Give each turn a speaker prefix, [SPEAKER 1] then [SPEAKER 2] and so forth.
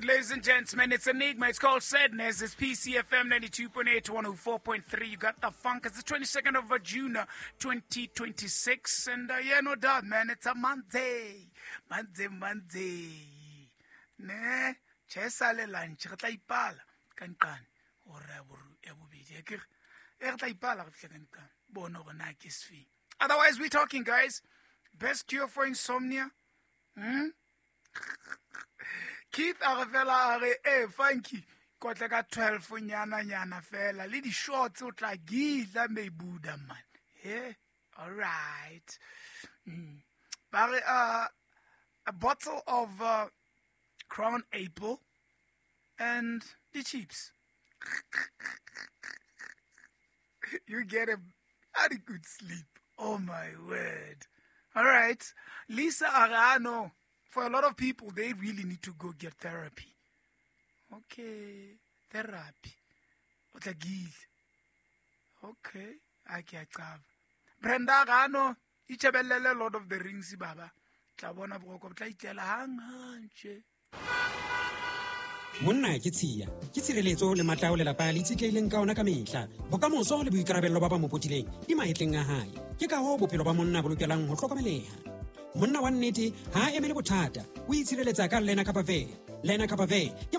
[SPEAKER 1] record, ladies and gentlemen. It's Enigma. It's called Sadness. It's PCFM 92.8 104.3. You got the funk. It's the 22nd of June, 2026. And yeah, no doubt, man. It's a Monday. Monday, Monday. Ne? Che sale lunch. Re tla ipala. Ka nqane. Hora ya bobedi. Akere? E re tla ipala re fihle ka nqane. Bona hore na ke sefeng. Otherwise, we're talking, guys. Best cure for insomnia? Hmm? Keith a re fela a re e funky kotle ka 12 nyana nyana fela le di-shorts o tla gidla mebuda man. Yeah, all right. Ba re a bottle of Crown Apple and the chips, you get a very good sleep. Oh my word. All right. Lisa Arano, for a lot of people, they really need to go get therapy. Okay. Therapy. O tla gile. Okay. A ke a qaba. Brenda Arano, itjhebellele Lord of the Rings baba. Tla bona boroko bo tla itlela hang hang tje.
[SPEAKER 2] Monna ke tshiya, ke tshireletso le matla ao lelapa le itshetlehileng ka ona ka mehla. Bokamoso le boikarabello ba ba mo potileng di mahetleng a hae. Ke ka hoo bophelo ba monna bo lokelang ho hlokomeleha. Monna wa nnete ha a emele bothata, o itshireletsa ka Lena Kapa Ve. Lena Kapa Ve ke